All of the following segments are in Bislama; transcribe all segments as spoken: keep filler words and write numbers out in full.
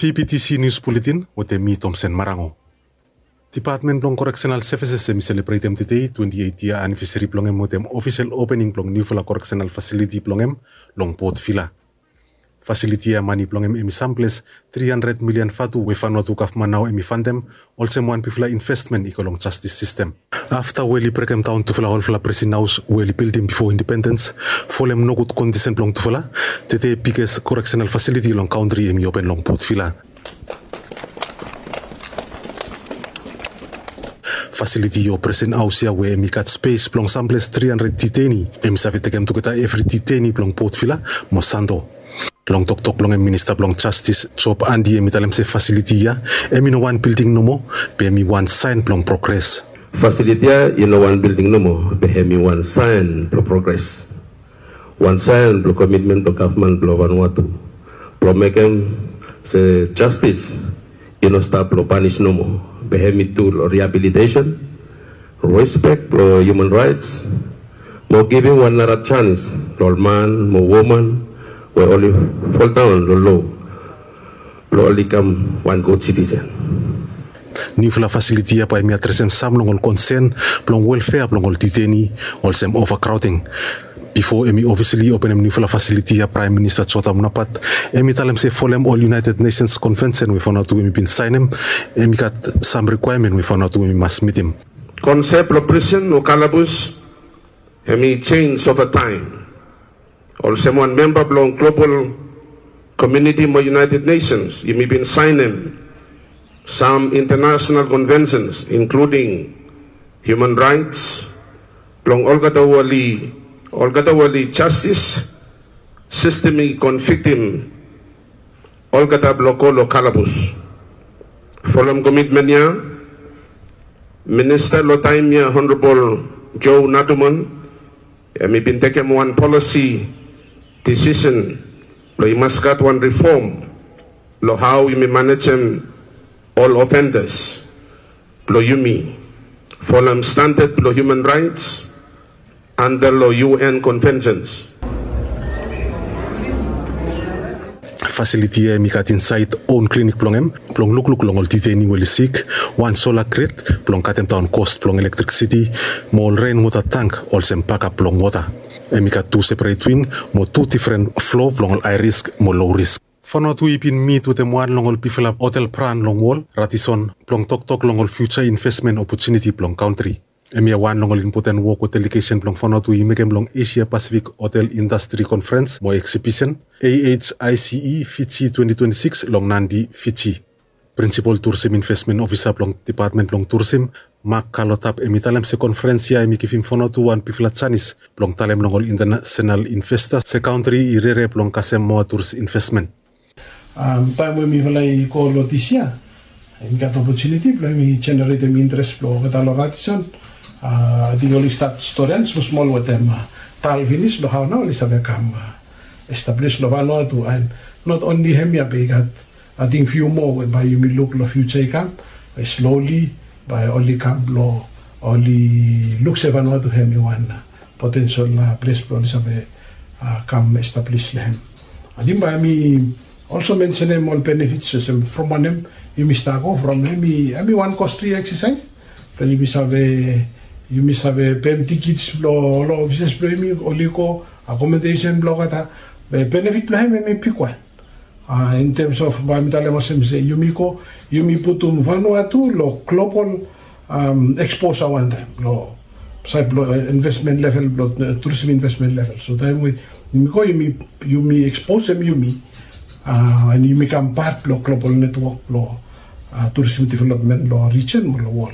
T P T C News Bulletin wetem mi Tomsen Marango. Dipatmen blong Correctional Services hemi selebretem tede twenti eit yia anivesari blong hem wetem ofisel opening blong niufala correctional fasiliti blong hem long Port Vila. Fasiliti ya mane blong hem hemi samples tri handred milian vatu we Vanuatu gavman nao hemi fantem olsem wan bigfala investmen i go long jastis sistem. Afta we oli brekemdaon tufala olfala presen haos we oli bildim bifo indipendens, folem nogud kondisen blong tufala, tede biges correctional fasiliti long kantri hemi open long Port Vila. Fasiliti o presen haos ya we hemi gat spes blong samples tri handred detainee hemi save tekem tugeta evri detainee blong Port Vila mo Santo. Long toktok blong hem, Minista blong Jastis Job Andy hemi talem se fasiliti ya hemi no wan bilding nomo, be hemi wan saen blong progres. Fasiliti ya i no wan bilding nomo, be hemi wan saen blong progres. Wan saen blong komitmen blong gavman blong Vanuatu blong mekem se jastis i no stap long panis nomo, be hemi tu long rehabilitation, respek blong human raets, mo givim wan nara janis long ol man mo woman we oli foldaon long lo blong oli kam wan gud sitisen. Niufala fasiliti ya bae hemi adresem sam long ol konsen blong welfea blong ol detainee, olsem overcrowding. Bifo hemi ofisali openem niufala fasiliti ya, Praem Minista Jotham Napat hemi talem se folem ol United Nations Konvensen we Vanuatu hemi bin saenem, hemi gat sam rikwaemen we Vanuatu hemi mas mitim. Konsep blong prisen o kalabus hemi jenis ova taem. Olsem wan memba blong global komuniti mo United Nations, yumi bin saenem sam international konvensens, inkluding human raets, blong olgeta we oli, olgeta we oli jastis sistem i konviktim olgeta blong go long kalabus. Folem komitmen ya, Minista long taem ya, Honorabol Joe Naduman, hemi bin tekem wan polisi disisen blong i mas gat wan rifom long hao yumi manejem ol ofendas blong yumi folem standad blong human raets anda long U N konvensens. Fasiliti ya hemi gat insaed own klinik blong hem blong lukluk long ol detainee we oli sik, wan sola grid blong katemdaon kos blong elektrisiti, mo ol renwota tank olsem bakap blong wota. Hemi gat tu seperet wing mo tu difren flo blong ol hae risk mo low risk. Vanuatu i bin mit wetem wan long ol bigfala hotel bran long wol, Radisson, blong toktok long ol fiuja investmen opotuniti blong kantri. Hemia wan long ol impoten wok we delegesen blong Vanuatu i mekem long Asia Pacific Hotel Industry Conference mo Exhibition, A H I C E Fiji twenty twenty-six, long Nadi, Fiji. Prinsipol Turisim Investmen Ofisa blong Dipatmen blong Turisim, Mark Kalotap, hemi talem se konferens ya hemi givim Vanuatu wan bigfala janis blong talem long ol intanasenal investas se kantri i rere blong kasem moa turis investmen. Taem we mifala i go long dis yia, hemi gat opotuniti blong hemi jeneretem interes blong olgeta long Radisson. Ating oli stat storian smosmol wetem tal finis long hao nao oli save kam establis long Vanuatu. And not only hemia, be i gat ating fiu moa we bae yumi luk long fiuja i kam, we slowly bae oli kam blong oli luk se Vanuatu hemi wan potensel ples blong oli save kam establis long hem. Ating bae mi also mensenem ol benefits olsem from wanem yumi stap go from, hemi wan kostli eksasaes blong yumi save, yumi save pem tikits blong ol ofises blong yumi oli go, akomodesen blong olgeta. Be benefit blong hem hemi bigwan. In terms of bae mi talem olsem se yumi go, yumi putum Vanuatu long global eksposa wantaem long saed blong investmen level, blong turisim investmen level. So taem we yumi go, yumi eksposem yumi, and yumi kam pat blong global netwok blong turisim developmen long rijen mo long wol.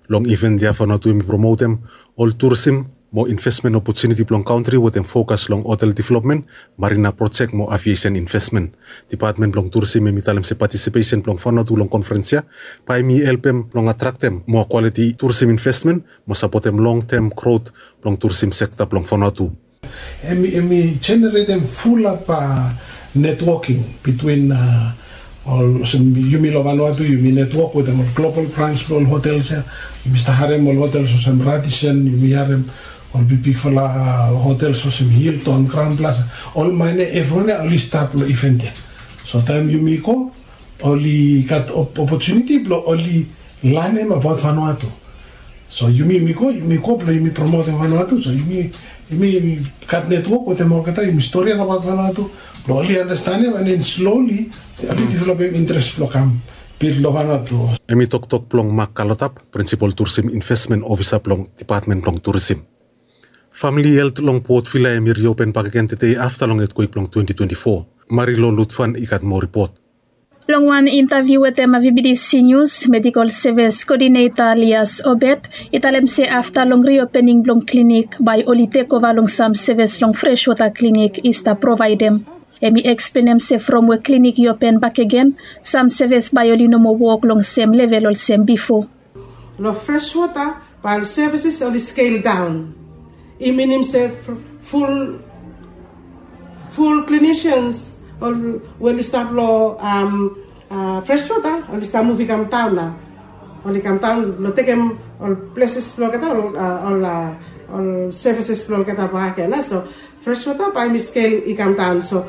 Long iven ya Vanuatu hemi promotem ol turisim mo investmen opotuniti blong kantri wetem fokas long hotel developmen, marina projek mo aviesen investmen. Dipatmen blong Turisim hemi talem se patisipesen blong Vanuatu long konferens ya bae hemi helpem blong atraktem moa kwaliti turisim investmen mo sapotem longtem grot blong turisim sekta blong Vanuatu. Hemi jeneretem fulap netwoking bitwin ol, olsem yumi long Vanuatu yumi netwok wetem ol global brans blong ol hotels ya. Yumi stap harem ol hotels olsem Radisson, yumi harem ol bigbigfala hotels olsem Hilton, Crowne Plaza, ol maene, evriwan ya oli stap long iven ya. So taem yumi go oli gat opotuniti blong oli lanem abaot Vanuatu. So yumi yumi go yumi go blong yumi promotem Vanuatu. So yumi yumi gat netwok wetem olgeta, yumi storian abaot Vanuatu blong oli anastenem, and then slowly oli developem interes blong kam bil long Vanuatu. Hemi toktok blong Mak Kalotap, prinsipol Turisim Invesmen Ofisa blong Depatmen blong Turisim. Famili helt long Port Vila hemi riopen bakegen tede afta long etkwek blong twenty twenty-four. Marilo Lutfan i gat moa ripot. Long wan intaviu wetem VBTC Nius, medikol sevis koodineta Lias Obed i talem se afta long riopening blong klinik bae oli tekova long sam sevis long Freshwater Klinik i stap provaedem. Hemi eksplenem se from we klinik i open bakegen, sam sevis bae oli no moa wok long sem level olsem bifo. Long Freshwater bae ol services oli scale down. I minim se ful ful clinicians we oli stap long Freshwater oli stap muv i kam daon nao. Oli kam daon long tekem ol pleses blong olgeta, ol services blong olgeta bakegen. So Freshwater bae hemi scale i kam daon. So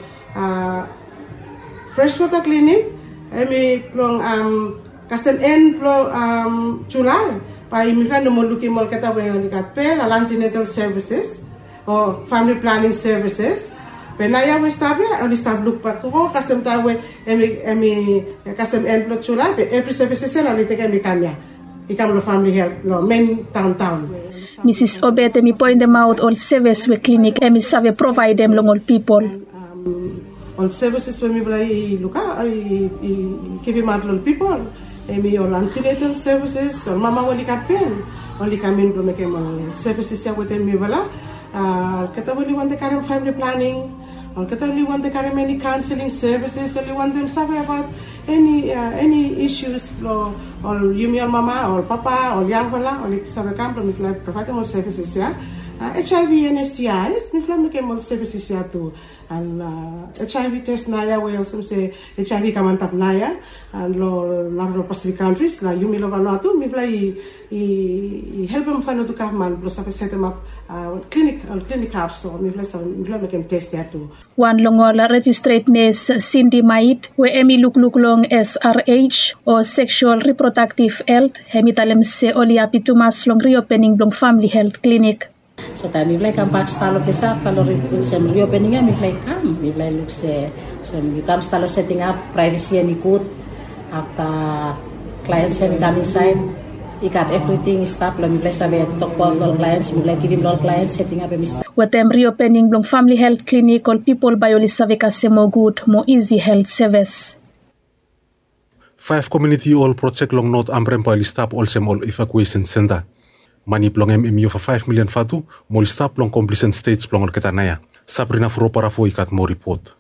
Freshwater Klinik hemi blong kasem en blong Julae bae mifala no moa lukim olgeta we oli gat bel, ol antenatal services o family planning services. Be naoia we stap ia oli stap lukbak go kasem taem we hemi kasem en blong Julae, be evri services ia oli tekem i kam ia, i kam long famili helt long men daondaon. Misis Obed hemi poentemaot ol sevis we klinik hemi save provaedem long ol pipol. Ol services we mifala i lukaot, i givimaot long ol pipol, hemi ol antenatal services, ol mama we oli gat bel, oli kam in blong mekem ol services ia wetem mifala. Olgeta we oli wantem karem famili planing, olgeta we oli wantem karem eni kaonseling services, oli wantem save abaot eni eni issues blong ol yumi ol mama, ol papa, ol yangfala, oli save kam blong mifala provaedem ol services ia. HIV and STIs, mifala mekem ol services ia tu. And HIV test naoia we olsem se HIV i kam antap naoia, and long narafala Pacific countries, na yumi long Vanuatu mifala i helpem Vanuatu gavman blong save setemap klinik, ol klinik hab, so mifala mekem test ia tu. Wan long ol registret nes, Cindy Mait, we hemi lukluk long SRH o seksual reprodaktif helt, hemi talem se oli hapi tumas long riopening blong famili helt klinik. So taem mifala i kambak stap long ples afta long olsem riopening ia, mifala i kam, mifala i luk se olsem yu kam stap long setingap, praevesi hemi gud. Afta klaens hemi kam insaed, i gat evriting i stap long mifala i save tokbaot long ol klaens, mifala i givim long ol klaens, setingap hemi stap. Wetem riopening blong famili helt klinik, ol pipol bae oli save kasem moa gud, moa isi helt sevis. Faef komuniti hol projek long Not Ambrem bae oli stap olsem ol evakuesen senta. Mane blong hem hemi ova faef milian vatu, mo oli stap long komplisen stej blong olgeta naoia. Sabrina Froparafo i gat moa ripot.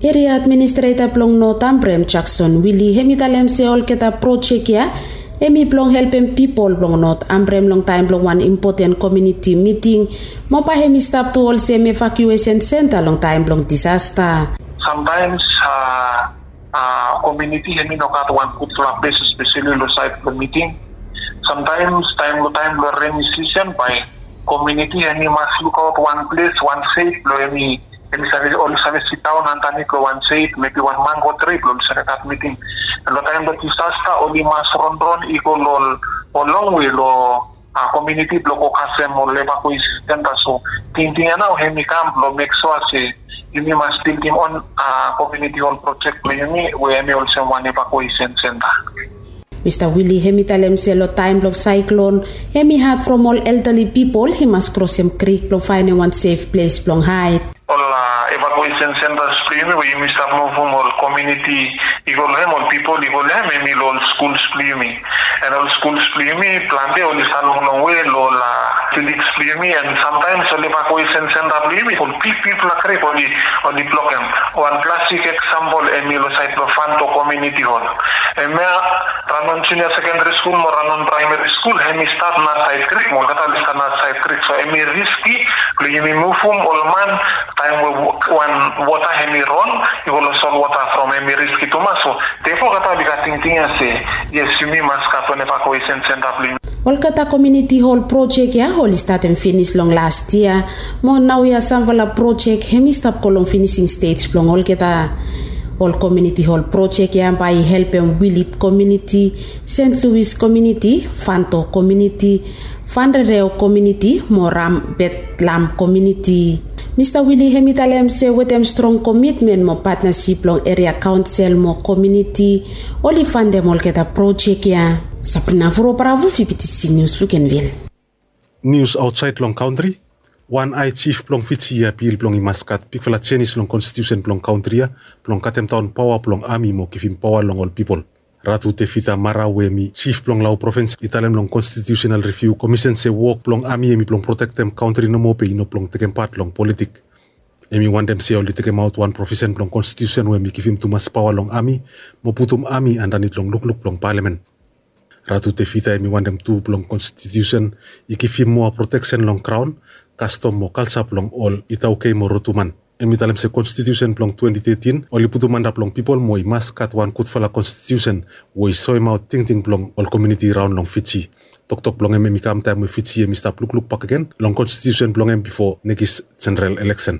Eria administreta blong Not Ambrem, Jakson Wili, hemi talem se olgeta projek ia hemi blong helpem pipol blong Not Ambrem long taem blong wan impoten komuniti miting, mo bae hemi stap tu olsem evakuesen senta long taem blong disasta. Samtaems komuniti hemi no gat wan gudfala ples, espeseli long saed blong miting. Samtaems taem long taem blong reni sisen bae komuniti hemi mas lukaot wan ples, wan sef blong hemi hemi save, oli save sidaon andanit long wan sef, mebi wan mango tri blong oli save gat miting. Long taem blong disasta oli mas ronron i go long ol longwe long komuniti blong go kasem ol evakuesen senta. So tingting ia nao hemi kam blong mek sua se yumi mas bildim on komuniti hol projek blong yumi we hemi olsem wan evakuesen senta. Mista Wili hemi talem se long taem blong saeklon, hemi had from ol eldali pipol i mas krosem krik blong faenem wan sef ples blong haed. Ol evakuesen sentas blong yumi we yumi stap muvum ol komuniti i go long hem, ol pipol i go long hem, hemi long ol skuls blong yumi. And ol skuls blong yumi plante oli stap long longwe long ol village blong yumi, and samtaems ol evakuesen senta blong yumi ol bigbigfala krik oli blokem. Wan klasik eksampol hemi long saed blong Fanto Komuniti Hol. Hemia Ranon Junior Sekendari Skul mo Ranon Praemari Skul hemi stat nasaed krik, mo olgeta oli stat nasaed krik. So hemi riski blong yumi muvum ol man taem we wan wota hemi ron i go long solwota, from hemi riski tumas. So therefore olgeta oli gat tingting ia se yes, yumi mas gat wan evakuesen senta blong yumi. Olgeta komuniti hol projek ia oli statem finis long las yia, mo naoia samfala projek hemi stap go long finising stej blong olgeta. Ol komiuniti hol projek ya bae i helpem Wilit komiuniti, Sent Luis komiuniti, Fanto komiuniti, Fanrereo komiuniti mo Rambetlam komiuniti. Mista Wili hem i talem se wetem strong komitmen mo patnasip blong eria kaonsel mo komiuniti, oli fandem olgeta projek ya. Sabrina Vuro Bravo, Fibitisi Nius, Lukenvil. Nius aotsaed long kantri. Wan hae jif blong Fiji i apil blong i mas gat bigfala jenis long konstitiusen blong kantri ya blong katemdaon paoa blong ami mo givim paoa long ol pipol. Ratu Tevita Mara we hem i jif blong Lau provins i talem long konstitiusenal riviu komisen se wok blong ami hem i blong protektem kantri nomo be i no blong tekem pat long politik. Hem i wantem se oli tekemaot wan provisen blong konstitiusen we hem i givim tumas paoa long ami mo putum ami andanit long lukluk blong palamen. Ratu Tevita hem i wantem tu blong konstitiusen i givim moa proteksen long kraon, kastom mo kalja blong ol Itaukei mo Rotuman. Hem i talem se konstitiusen blong twenti tetin oli putum antap long pipol mo i mas gat wan gudfala konstitiusen we i soemaot tingting blong ol komiuniti raon long Fiji. Toktok blong hem hem i kam taem we Fiji hem i stap lukluk bakegen long konstitiusen blong hem bifo nekis jeneral eleksen.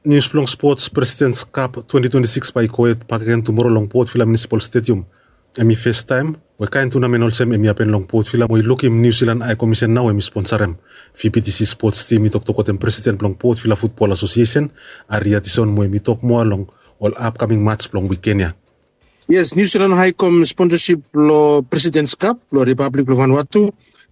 Nius blong spots, Presidents Cup twenti twenti sikis bae i gohed bakegen tumoro long Port Vila Municipal Stadium. Hem i festaem we kaen tunamen olsem hem i hapen long Port Vila mo i lukim Niu Silan Hae Komisen nao hem i sponsarem. Fibitisi spots tim i toktok wetem presiden blong Port Vila Futbol Asosiesen, Ari Atison, mo hem i tok moa long ol apkaming mats blong wiken ya. Yes, Niu Silan Hae Kom sponsasip blong Presidents Cup blong Ripablik blong Vanuatu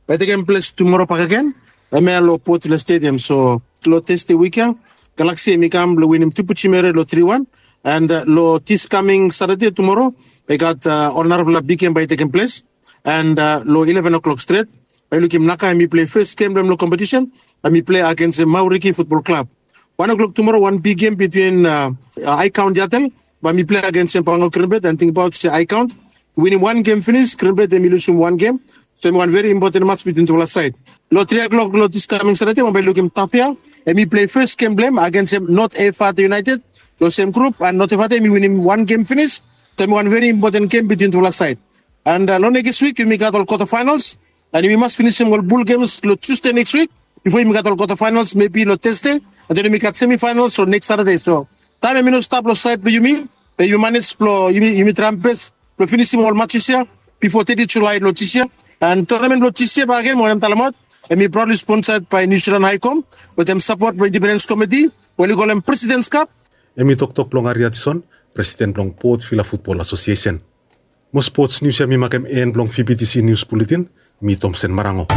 bae i tekem ples tumoro bakegen, hemia long Port Vila Stadium. So long Tasde wik ya, Galaksi hem i kam blong winim Tupu Jimere long tri wan. And long dis kaming Satade tumoro bae i gat ol narafala big gem bae i tekem ples. And long ileven o'clock stret bae i lukim Naka hem i plei fes gem blong hem long kompetisen, hem i plei agensem Mauriki Futbol Klab. Wan o'clock tumoro wan big gem bitwin Hae Kaon Yatel bae hem i plei agensem Pangok Grinbed, and tingbaot se Hae Kaon winim wan gem finis, Grinbed hem i lusum wan gem. So hem i wan veri impoten mats bitwin tufala saed. Long tri o'clock long dis kaming Satade bae i lukim Tafea hem i plei fes gem blong hem agensem Not Efata United long sem grup, and Not Efata hem i winim wan gem finis. So hem i wan veri impoten gem bitwin tufala saed. And long nekis wik yumi gat ol kwata faenals, and yumi mas finisim ol bul gems long Tusde nekis wik bifo yumi gat ol kwata faenals mebi long Tasde, and then yumi gat semi faenals long nekis Satade. So taem hem i no stap long saed blong yumi, be yumi manej blong yumi traem bes blong finisim ol matses ya bifo teti Julae long dis yia. And tonamen blong dis yia bakegen, mi wantem talemaot, hem i praodli sponsaed bae Niu Silan Hae Kom wetem sapot blong Indipendens Komiti we oli kolem Presidents Cup. Hem i toktok blong Ari Atison, presiden blong Port Vila Futbol Asosiesen. Mo spots nius ya mi makem en blong Fibitisi Nius Buletin. Mi Tomsen Marango.